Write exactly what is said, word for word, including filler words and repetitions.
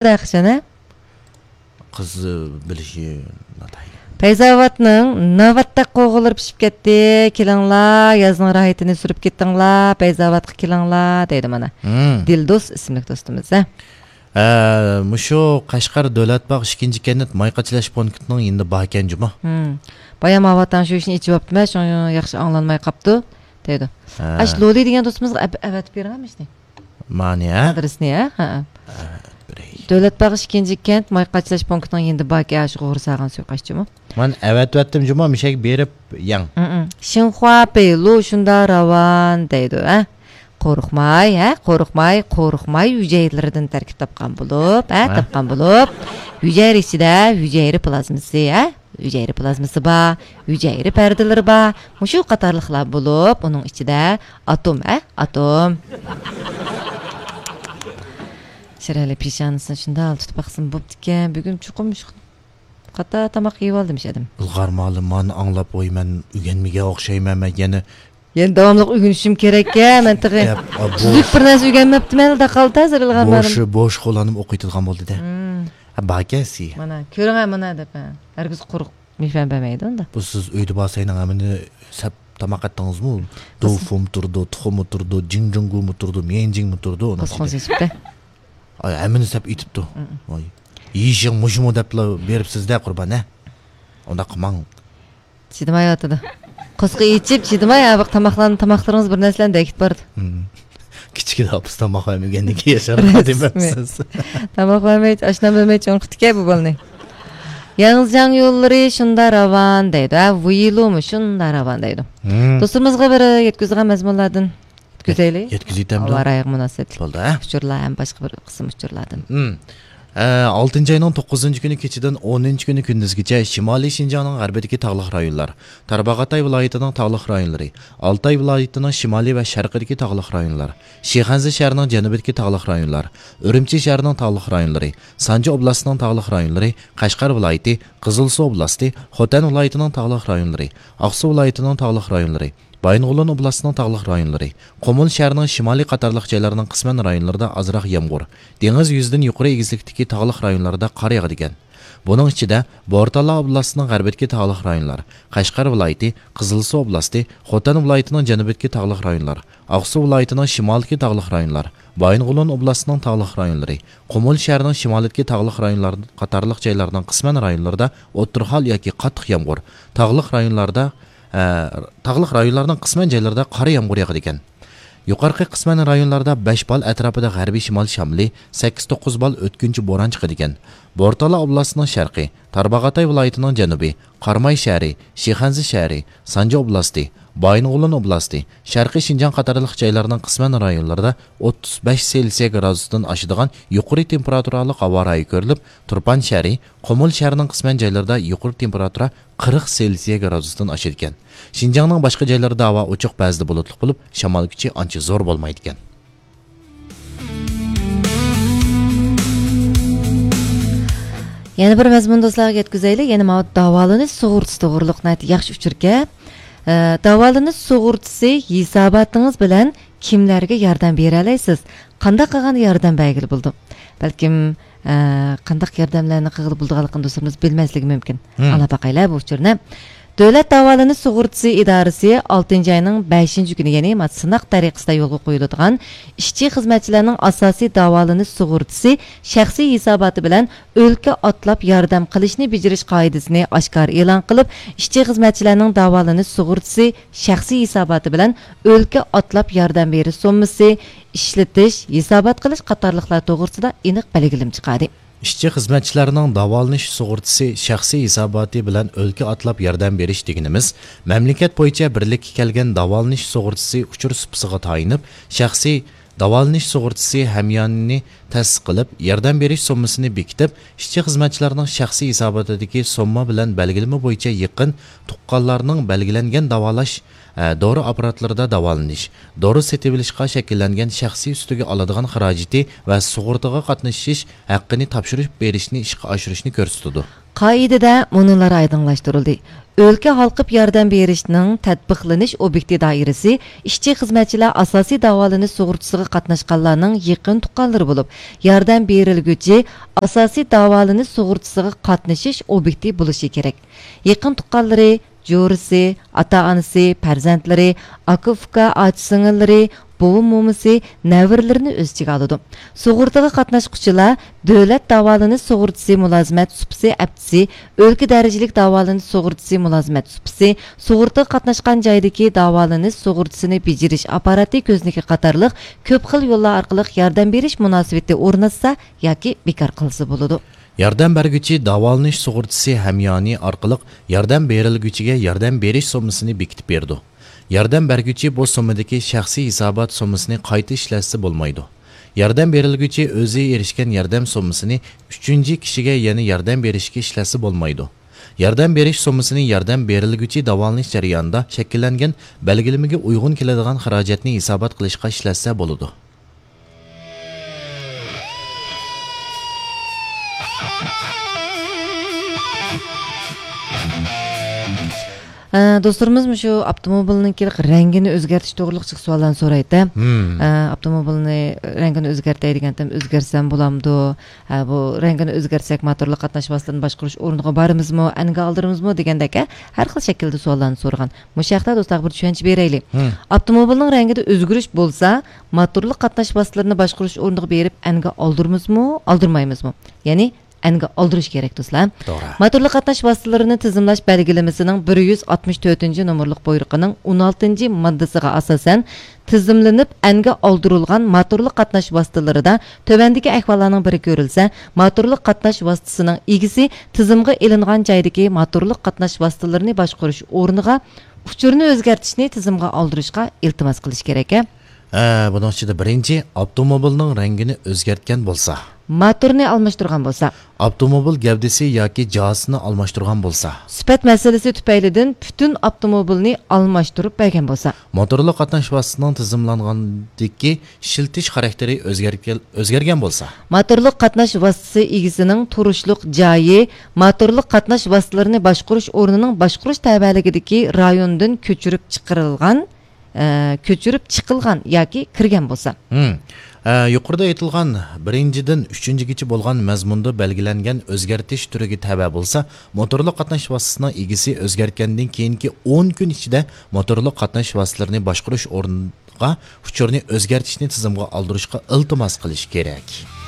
دەخشەن، ھە؟ قىز بىلىشى ناتايىن. پەيزاۋاتنىڭ ناۋاتتەك قوغۇنلىرى پىشىپ كەتتى. كېلىڭلار، يازنىڭ راھىتىنى سۈرۈپ كېتىڭلار، پەيزاۋاتقا كېلىڭلار، دەيدۇ مانا. ھىم. دىلدوست ئىسىملىك دوستىمىز، ھە؟ ھە، مۇشۇ قەشقەر دۆلەت باغ ئىككىنچى كەنت ماي قاچىلاش پونكىتىنىڭ يېنىدا باركەن جۇمۇ. ھىم. بايام ئاۋاتاڭ شۇ ئىشنى ئېچىۋاپتىمەن، شۇڭا ياخشى ئاڭلانماي قاپتۇ، دەيدۇ. ھە. ئاش لولى دېگەن دوستىمىزغا ئەپ-، ئەۋەتىپ بېرىڭە مۇشۇنى. مانى، ھە؟ ئادرېسنى، ھە؟ ھە. دۆلەت باغ ئىككىنچى كەنت ماي قاچىلاش پونكىتىنىڭ يېنىدا باركەن، شۇ غورساغان سۇيۇقئاش جۇمۇ. مانا ئەۋەتىۋەتتىم جۇمۇ، مۇشەگە بېرىپ يەڭ. شىنخۇا پېيلۇ شۇندا راۋان دەيدۇ، ھە؟ قورقماي، ھە؟ قورقماي، قورقماي ھۈجەيرىلىرىدىن تەركىب تاپقان بولۇپ، ھە؟ ھە؟ تاپقان بولۇپ، ھۈجەيرە ئىچىدە ھۈجەيرە پلازمىسى، ھە؟ ھۈجەيرە پلازمىسى بار، ھۈجەيرە پەردىلىرى بار، مۇشۇ قاتارلىقلار بولۇپ، ئۇنىڭ ئىچىدە ئاتوم، ھە؟ ئاتوم. شىرئەلى پېشانىسىنى شۇنداق تۇتۇپ باقسىمۇ بوپتىكەن، بۈگۈن چوقۇم شۇ قاتار تاماق يېيىۋالدىمىش ئادەم. ئىلغارمالى مانا ئاڭلاپ قويىمەن، ئۆگەنمىگەن ئوخشايمەن مەن يەنە. يەنە داۋاملىق ئۆگىنىشىم كېرەككەن، مەن تېخى ياق، ئا، بوش. تۈزۈك بىر نەرسە ئۆگەنمەپتىمەن، دەقالدا ھازىر ئىلغارمالىم. بوش، بوش قوللىنىپ ئوقۇيدىغان بولدى دە. ھىم. ھە، باركەنسى. مانا، كۆرۈڭە مانا دەپ، ھە. ھەرگىز قۇرۇق مېھمان بەرمەيدۇ ئۇندا. بۇ سىز ئۆيدە بارساينىڭ ھەممىنى سەپ تاماق ئەتتىڭىزمۇ؟ دوفۇمۇ تۇرىدۇ، تۇخۇمى تۇرىدۇ، جىڭجۇڭگۇمۇ تۇرىدۇ، ميەنجىڭمۇ تۇرىدۇ، ئۇنىڭ ئىچىدە. ئاي، ھەممىنى سەپ ئېتىپتۇ. ھىم. ۋاي. يېيىشىڭ مۇشۇمۇ دەپلا بېرىپسىز-دە، قۇربان، ھە؟ ئۇنداق قىلماڭ. چىدىمايۋاتىدۇ. قورسىقى ئېچىپ، چىدىماي، ھە، بۇ تاماقلارنى، تاماقلىرىڭىز بىر نەرسىلەرنى دەكىتىپ بارىدۇ. ھىم. كىچىكىدە ئاپىسى تاماق بەرمىگەندىن كېيىن ياشانغان دېمەپسىز. تاماق بەرمەي، ئاشنان بەرمەي چوڭ قىپتىكەن بۇ بالىنى. ياڭزىجياڭ يوللىرى شۇندا راۋان دەيدۇ. ھە، ۋۇيلۇمۇ شۇندا راۋان دەيدۇ. ھىم. دوستىمىزغا بىر يەتكۈزىدىغان مەزمۇنلاردىن يەتكۈزەيلى. يەتكۈزۈۋېتەمدۇ؟ ھاۋا رايىغا مۇناسىۋەتلىك. بولدى، ھە؟ ئۇچۇرلار ھەم باشقا بىر قىسىم ئۇچۇرلاردىن. ھىم. ئە، ئالتىنچى ئاينىڭ توققۇزىنچى كۈنى كېچىدىن ئونىنچى كۈنى كۈندۈزگىچە شىمالىي شىنجاڭنىڭ غەربىدىكى تاغلىق رايونلار، تارباغاتاي ۋىلايىتىنىڭ تاغلىق رايونلىرى، ئالتاي ۋىلايىتىنىڭ شىمالىي ۋە شەرقىدىكى تاغلىق رايونلار، شىخەنزە شەھىرىنىڭ جەنۇبىدىكى تاغلىق رايونلار، ئۈرۈمچى شەھىرىنىڭ تاغلىق رايونلىرى، سانجى ئوبلاستىنىڭ تاغلىق رايونلىرى، قەشقەر ۋىلايىتى، قىزىلسۇ ئوبلاستى، خوتەن ۋىلايىتىنىڭ تاغلىق رايونلىرى، ئاقسۇ ۋىلايىتىنىڭ تاغلىق رايونلىرى، بايىنغولىن ئوبلاستىنىڭ تاغلىق رايونلىرى، قۇمۇل شەھىرىنىڭ شىمالىي قاتارلىق جايلارنىڭ قىسمەن رايونلىرىدا ئازراق يامغۇر، دېڭىز يۈزىدىن يۇقىرى ئېگىزلىكتىكى تاغلىق رايونلاردا قار ياغىدىكەن. بۇنىڭ ئىچىدە، بورتالا ئوبلاستىنىڭ غەربىدىكى تاغلىق رايونلار، قەشقەر ۋىلايىتى، قىزىلسۇ ئوبلاستى، خوتەن ۋىلايىتىنىڭ جەنۇبىدىكى تاغلىق رايونلار، ئاقسۇ ۋىلايىتىنىڭ شىمالىدىكى تاغلىق رايونلار، بايىنغولىن ئوبلاستىنىڭ تاغلىق رايونلىرى، قۇمۇل شەھىرىنىڭ شىمالىدىكى تاغلىق رايونلار قاتارلىق جايلارنىڭ قىسمەن رايونلىرىدا ئوتتۇرا ھال ياكى قاتتىق يامغۇر، تاغلىق رايونلاردا، ئە، تاغلىق رايونلارنىڭ قىسمەن جايلىرىدا قارا يامغۇر ياغىدىكەن. يۇقىرىقى قىسمەن رايونلاردا بەش بال ئەتراپىدا غەربىي شىمال شامىلى، سەككىز توققۇز بال ئۆتكۈنچى بوران چىقىدىكەن. بورتالا ئوبلاستىنىڭ شەرقى، تارباغاتاي ۋىلايىتىنىڭ جەنۇبى، قاراماي شەھىرى، شىخەنزە شەھىرى، سانجى ئوبلاستى، بايىنغولىن ئوبلاستى، شەرقىي شىنجاڭ قاتارلىق جايلارنىڭ قىسمەن رايونلىرىدا ئوتتۇز بەش سېلسىيە گرادۇستىن ئاشىدىغان يۇقىرى تېمپېراتۇرالىق ھاۋا رايى كۆرۈلۈپ، تۇرپان شەھىرى، قۇمۇل شەھىرىنىڭ قىسمەن جايلىرىدا يۇقىرى تېمپېراتۇرا قىرىق سېلسىيە گرادۇستىن ئاشىدىكەن. شىنجاڭنىڭ باشقا جايلىرىدا ھاۋا ئوچۇق، بەزىدە بۇلۇتلۇق بولۇپ، شامال كۈچى ئانچە زور بولمايدىكەن. يەنە بىر مەزمۇن دوستلارغا يەتكۈزەيلى. يەنە ماۋۇ داۋالىنىش سۇغۇرتىسى توغرۇلۇق ناھايىتى ياخشى ئۇچۇركەن. ئە، داۋالىنىش سۇغۇرتىسى ھېساباتىڭىز بىلەن كىملەرگە ياردەم بېرەلەيسىز؟ قانداق قىلغاندا ياردەم بەرگىلى بولىدۇ؟ بەلكىم، ئە، قانداق ياردەملەرنى قىلغىلى بولىدىغانلىقىنى دوستلىرىمىز بىلمەسلىكى مۇمكىن. ھىم. ئاڭلاپ باقايلى بۇ ئۇچۇرنى. دۆلەت داۋالىنىش سۇغۇرتىسى ئىدارىسى ئالتىنچى ئاينىڭ بەشىنچى كۈنى، يەنى مانا سىناق تەرىقىسىدە يولغا قويۇلىدىغان ئىشچى خىزمەتچىلەرنىڭ ئاساسىي داۋالىنىش سۇغۇرتىسى شەخسىي ھېساباتى بىلەن ئۆلكە ئاتلاپ ياردەم قىلىشنى بېجىرىش قائىدىسىنى ئاشكارا ئېلان قىلىپ، ئىشچى خىزمەتچىلەرنىڭ داۋالىنىش سۇغۇرتىسى شەخسىي ھېساباتى بىلەن ئۆلكە ئاتلاپ ياردەم بېرىش سوممىسى، ئىشلىتىش، ھېسابات قىلىش قاتارلىقلار توغرىسىدا ئېنىق بەلگىلىمە چىقاردى. ئىشچى خىزمەتچىلەرنىڭ داۋالىنىش سۇغۇرتىسى شەخسىي ھېساباتى بىلەن ئۆلكە ئاتلاپ ياردەم بېرىش دېگىنىمىز، مەملىكەت بويىچە بىرلىككە كەلگەن داۋالىنىش سۇغۇرتىسى ئۇچۇر سۇپىسىغا تايىنىپ، شەخسىي داۋالىنىش سۇغۇرتىسى ھەميانىنى تەسىس قىلىپ، ياردەم بېرىش سوممىسىنى بېكىتىپ، ئىشچى خىزمەتچىلەرنىڭ شەخسىي ھېساباتىدىكى سومما بىلەن بەلگىلىمە بويىچە يېقىن تۇغقانلارنىڭ بەلگىلەنگەن داۋالاش، ئە، دورا ئاپپاراتلىرىدا داۋالىنىش، دورا سېتىۋېلىشقا شەكىللەنگەن شەخسىي ئۈستىگە ئالىدىغان خىراجىتى ۋە سۇغۇرتىغا قاتنىشىش ھەققىنى تاپشۇرۇپ بېرىشنى ئىشقا ئاشۇرۇشنى كۆرسىتىدۇ. قائىدىدە مۇنۇلار ئايدىڭلاشتۇرۇلدى: ئۆلكە ھالقىپ ياردەم بېرىشنىڭ تەتبىقلىنىش ئوبيېكتى دائىرىسى ئىشچى-خىزمەتچىلەر ئاساسىي داۋالىنىش سۇغۇرتىسىغا قاتناشقانلارنىڭ يېقىن تۇغقانلىرى بولۇپ، ياردەم بېرىلگۈچى ئاساسىي داۋالىنىش سۇغۇرتىسىغا قاتنىشىش ئوبيېكتى بولۇشى كېرەك. يېقىن تۇغقانلىرى، جورىسى، ئاتا-ئانىسى، پەرزەنتلىرى، ئاكا-ئۇكا، ئاچا-سىڭىللىرى، بوۋا-مومىسى، نەۋرىلىرىنى ئۆز ئىچىگە ئالىدۇ. سۇغۇرتىغا قاتناشقۇچىلار دۆلەت داۋالىنىش سۇغۇرتىسى مۇلازىمەت سۇپىسى ئەپتىسى، ئۆلكە دەرىجىلىك داۋالىنىش سۇغۇرتىسى مۇلازىمەت سۇپىسى، سۇغۇرتىغا قاتناشقان جايدىكى داۋالىنىش سۇغۇرتىسىنى بېجىرىش ئاپپاراتى كۆزنىكى قاتارلىق كۆپ خىل يوللار ئارقىلىق ياردەم بېرىش مۇناسىۋىتى ئورناتسا ياكى بىكار قىلسا بولىدۇ. ياردەم بەرگۈچى داۋالىنىش سۇغۇرتىسى ھەميانى ئارقىلىق ياردەم بېرىلگۈچىگە ياردەم بېرىش سوممىسىنى بېكىتىپ بېرىدۇ. ياردەم بەرگۈچى بۇ سوممىدىكى شەخسىي ھېسابات سوممىسىنى قايتا ئىشلەتسە بولمايدۇ. ياردەم بېرىلگۈچى ئۆزى ئېرىشكەن ياردەم سوممىسىنى ئۈچىنچى كىشىگە يەنە ياردەم بېرىشكە ئىشلەتسە بولمايدۇ. ياردەم بېرىش سوممىسىنى ياردەم بېرىلگۈچى داۋالىنىش جەريانىدا شەكىللەنگەن بەلگىلىمىگە ئۇيغۇن كېلىدىغان خىراجەتنى ھېسابات قىلىشقا ئىشلەتسە بولىدۇ. ئە، دوستلىرىمىز مۇشۇ ئاپتوموبىلنىڭكى رەڭگىنى ئۆزگەرتىش توغرىلىق جىق سوئاللارنى سورايتتى. مم. ئە، ئاپتوموبىلنى رەڭگىنى ئۆزگەرتەي دېگەنتىم، ئۆزگەرتسەم بولامدۇ؟ ھە، بۇ رەڭگىنى ئۆزگەرتسەك، موتورلۇق قاتناش ۋاسىتىلىرىنى باشقۇرۇش ئورنىغا بارىمىزمۇ، ئەنگە ئالدۇرىمىزمۇ دېگەندەك، ھە، ھەر خىل شەكىلدە سوئاللارنى سورىغان. مۇشۇ ھەقتە دوستلارغا بىر چۈشەنچە بېرەيلى. مم. ئاپتوموبىلنىڭ رەڭگىدە ئۆزگىرىش بولسا، موتورلۇق قاتناش ۋاسىتىلىرىنى باشقۇرۇش ئورنىغا بېرىپ ئەنگە ئالدۇرىمىزمۇ، ئالدۇرمايمىزمۇ؟ يەنى ئەنگە ئالدۇرۇش كېرەك، دوستلار. توغرا. موتورلۇق قاتناش ۋاسىتىلىرىنى تىزىملاش بەلگىلىمىسىنىڭ بىر يۈز ئاتمىش تۆتىنچى نومۇرلۇق بۇيرۇقىنىڭ ئون ئالتىنچى ماددىسىغا ئاساسەن، تىزىملىنىپ ئەنگە ئالدۇرۇلغان موتورلۇق قاتناش ۋاسىتىلىرىدا تۆۋەندىكى ئەھۋاللارنىڭ بىرى كۆرۈلسە، موتورلۇق قاتناش ۋاسىتىسىنىڭ ئىگىسى تىزىمغا ئېلىنغان جايدىكى موتورلۇق قاتناش ۋاسىتىلىرىنى باشقۇرۇش ئورنىغا ئۇچۇرنى ئۆزگەرتىشنى تىزىمغا ئالدۇرۇشقا ئىلتىماس قىلىش كېرەك. ھە، بۇنىڭ ئىچىدە بىرىنچى، ئاپتوموبىلنىڭ رەڭگىنى ئۆزگەرتكەن بولسا. موتورنى ئالماشتۇرغان بولسا. ئاپتوموبىل گەۋدىسى ياكى جازىسىنى ئالماشتۇرغان بولسا. سۈپەت مەسىلىسى تۈپەيلىدىن پۈتۈن ئاپتوموبىلنى ئالماشتۇرۇپ بەرگەن بولسا. موتورلۇق قاتناش ۋاسىتىسىنىڭ تىزىملانغاندىكى ئىشلىتىش خاراكتېرى ئۆزگەرگەن، ئۆزگەرگەن بولسا. موتورلۇق قاتناش ۋاسىتىسى ئىگىسىنىڭ تۇرۇشلۇق جايى موتورلۇق قاتناش ۋاسىتىلىرىنى باشقۇرۇش ئورنىنىڭ باشقۇرۇش تەۋەلىكىدىكى رايوندىن كۆچۈرۈپ چىقىرىلغان، ئە، كۆچۈرۈپ چىقىلغان ياكى كىرگەن بولسا. ھىم. ئە، يۇقىرىدا ئېيتىلغان بىرىنچىدىن ئۈچىنچىگىچە بولغان مەزمۇندا بەلگىلەنگەن ئۆزگەرتىش تۈرىگە تەۋە بولسا، موتورلۇق قاتناش ۋاسىتىسىنىڭ ئىگىسى ئۆزگەرتكەندىن كېيىنكى ئون كۈن ئىچىدە موتورلۇق قاتناش ۋاسىتىلىرىنى باشقۇرۇش ئورنىغا ئۇچۇرنى ئۆزگەرتىشنى تىزىمغا ئالدۇرۇشقا ئىلتىماس قىلىشى كېرەك.